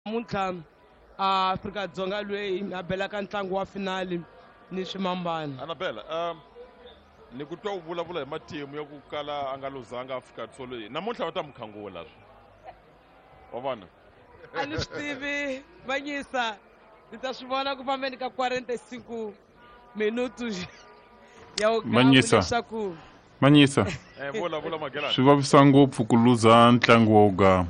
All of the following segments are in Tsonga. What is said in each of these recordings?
Namuntlha a Afrika-Dzonga lweyi a belaka ntlangu wa finali ni swimambana. Anabela, ni ku twa u vulavula hi matimu ya ku kala a nga luzanga Afrika Dzonga namuntlha va ta mu khangula swi wa vona. A ni swi tivi Manyisa, ni ta swi vona ku fambeni ka 45 minutu ya u Manyisa. Leswaku Manyisa. Vula vula Magelani. Swi vavisa ngopfu ku luza ntlangu wa ugama.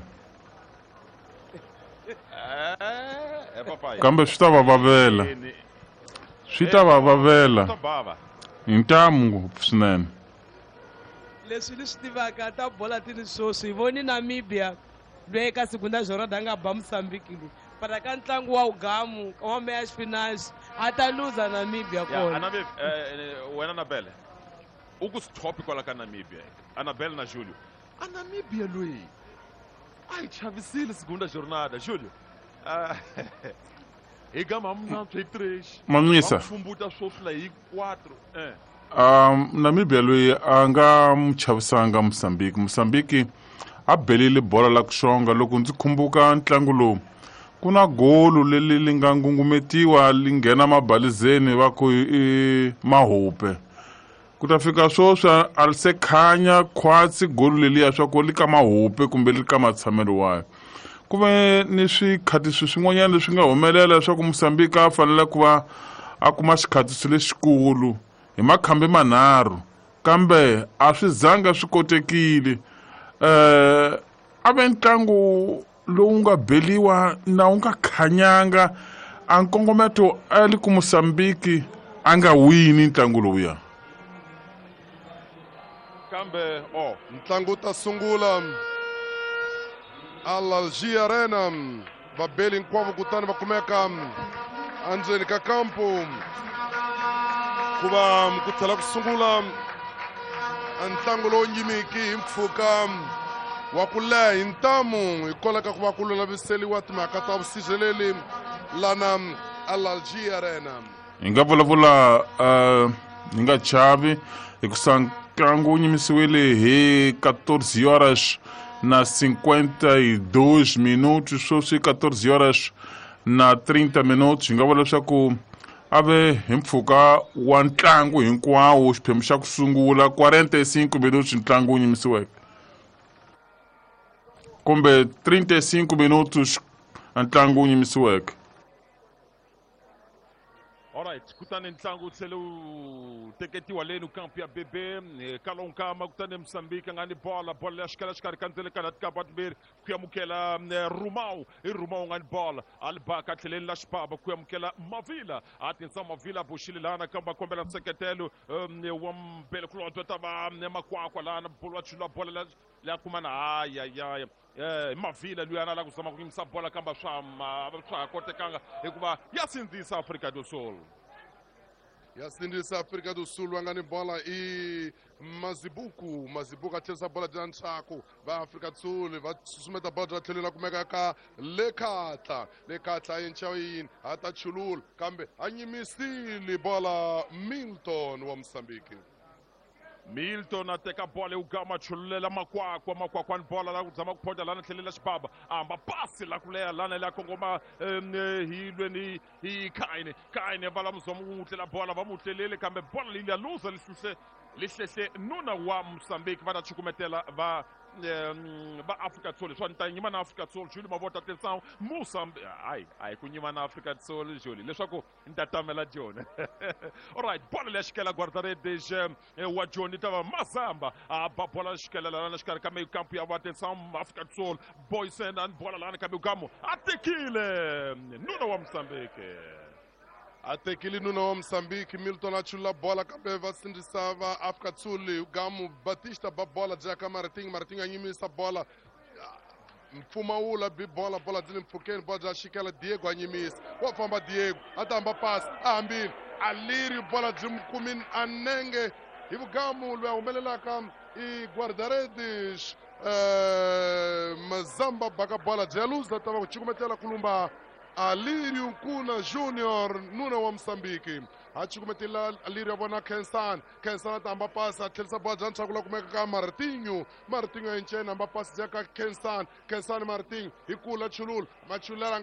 Papayi. Kambe swi ta va vavela. Swi ta va vavela. Swi ta bava. Hi ntamu ngopfu swinene. Leswi ni swi tivaka ta bola ti ni swoswi hi voni Namibia loyi eka Segunda Jornada a nga ba Mozambique loyi para ka ntlangu wa ugamu wa meya xipinachi a ta luza Namibia Ya, kona. Anabel, wena Anabel, u ku stop kwala ka Namibia. Anabel na Julio. A Namibia loyi a yi chavisile Segunda Jornada, Julio. Hi gama munantswo hi 3. Mamisa. Va pfumbuta swoswi la hi 4. Namibia loyi a nga mu chavisanga Mozambique. Mozambique a belile bola la ku xonga. Loko ndzi khumbuka ntlangu lowu, ku na golu leri li nga ngungumetiwa li nghena mabalizeni va ku i Mahupe. Ku ta fika swoswi a li se khanya khwatsi golu leliya swa ku li ka Mahupe kumbe li ka matshamelo wayo. Ku ve ni swikhatisi swin'wanyana leswi nga humelela leswaku Mozambique a fanele ku va a kuma xikhatiso lexikulu hi makhambi manharhu, kambe a swi zanga swi kotekile. A ve ntlangu lowu nga beliwa na wu nga khanyanga, a nkongometo a li ku Mozambique a nga wini ntlangu lowuya. Kambe, oh. Ntlangu ta sungula Al-Algi Arena, vabeli hinkwavo kutani va kumeka endzeni ka kampu ku va ku tlhela ku sungula ntlangu lowu nyimiki hi mpfhuka wa ku leha hi ntamu hikwalaho ka ku va ku lulamiseriwa timhaka ta vusirheleli lana Al-Algi Arena. Hi nga vulavula hi nga chavi hikusa ntlangu wu nyimisiwile hi quatorze horas na cinquenta e dois minutos, sweswi quatorze horas na trinta minutos. Hi nga vula leswaku a ve hi mpfhuka wa ntlangu hinkwawo xiphemu xa ku sungula quarenta e cinco minutos ntlangu wu nyimisiweke, kumbe trinta e cinco minutos ntlangu wu nyimisiweke. Alright, kutani ntlangu wu tlhele wu teketiwa leni kampu ya BB Kalonkama, kutani Mozambique a nga ni bola, bola ya xikala xikarhi ka ndzele ka tikapa timbirhi ku amukela Rumau, i Rumau nga ni bola a li baka tlheleni la xibaba ku amukela Mavila, a tinsa Mavila boxile lana kambe a kombela nseketelo wa Mbele Kulonto ta va Makwakwa lana bolo wa chula bola la kumana hayi hayi hayi. Mavila luya na la ku zama ku yimisa bola kambe swa ha kotekanga hikuva ya sindzisa Afrika do Sul. Ya sindzisa Afrika do Sul va nga ni bola i Mazibuku. Mazibuku a tlherisa bola bya ntshaku va Afrika do Sul va susumeta bola bya tlhelo la kumeka ka Lekhatla. Lekhatla yi ncha yini a ta chulula kambe a nyimisile bola Milton wa Mozambique. Milton a teka bola yi gama chululela Makwakwa, Makwakwa ni bola la ku zama ku phota lana tlhelela xibaba, a hamba pasi la ku leha lana la kongoma hi lweni hi Kaine. Kaine va la muzama ku n'wi tlela bola, va n'wi tlelele kambe bola leyi ya luza li hluhle li hlehle nuna wa Mozambique va ta chukumetela va Afrika Dzonga. Leswi ni ta nyima na Afrika Dzonga, Julie Mavota Tensang Mozambique. Hayi, hayi ku nyima na Afrika Dzonga, Julie, leswaku ni ta tamela Joni. Alright, bola leya xikela guarda-redes wa Joni ta va Mazamba a ba bola xikela lana xikarhi ka kampu ya va Tensang Afrika Dzonga. Boysen a ni bola lana kambe Gamo a tekile nuna wa Mozambique. A tekile nuna wa Mozambique Milton a chula bola kambe va sindzisa va Afrika Dzonga. Gamo Batista ba bola bya ka Martin, Martin a nyimisa bola mpfumawula bi bola, bola byi le mpfhukeni, bola bya xikela Diego a nyimisa, wa famba Diego a ta hamba pasi a hambile a leri bola byi n'wi kumini a nenge hi vugamu loyi a humelelaka i guarda-redes Mazamba baka bola bya luza ta va ku cukumetela kulumba Alirio Nkuna Junior nuna wa Mozambique a cukumetela Alirio vona Kensani. Kensani a ta hamba pasi a tlherisa bola bya ntshaku la kumeka ka Martinho. Martinho a encena hamba pasi bya ka Kensani. Kensani Martinho hi kula chulula machulela nga